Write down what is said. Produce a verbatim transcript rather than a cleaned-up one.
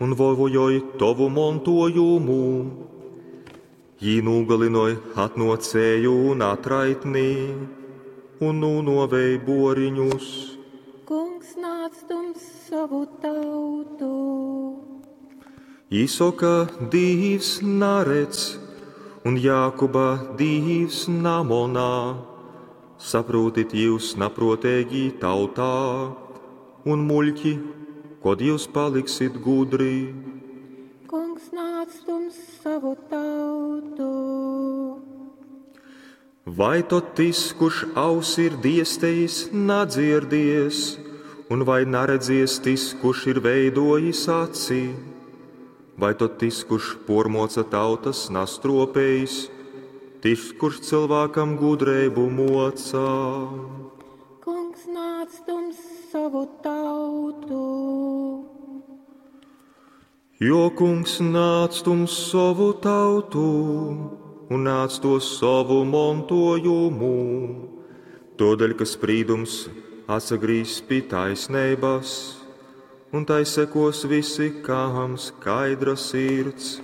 Un vojoj tovu montojumu. Jī nūgalynoj atnōcēju un atraitni un nūnōvej bōriņus. Kungs nāc tums sovu tautu. Jī soka, Dīvs naredz, un Jākuba Dīvs namonā. Saprūtit jūs naprōteigī tautā un muļķi, kod jūs paliksit gudri. Kungs nāc tums savu tautu. Vai tod tys, kurš ausi ir diestejis, nadzirdies, un vai naredzies tys, kurš ir veidojis aci? Vai tod tys, kurš pormoca tautas, nastropējis, tys, kurš cilvēkam gudreibu mocā? Kungs nāc tums savu tautu. Jo kungs nāc tums savu tautu un nāc to savu montojumu, todēļ, ka sprīdums atsagrīz pie taisnības, un tai sekos visi, kam skaidra sirds.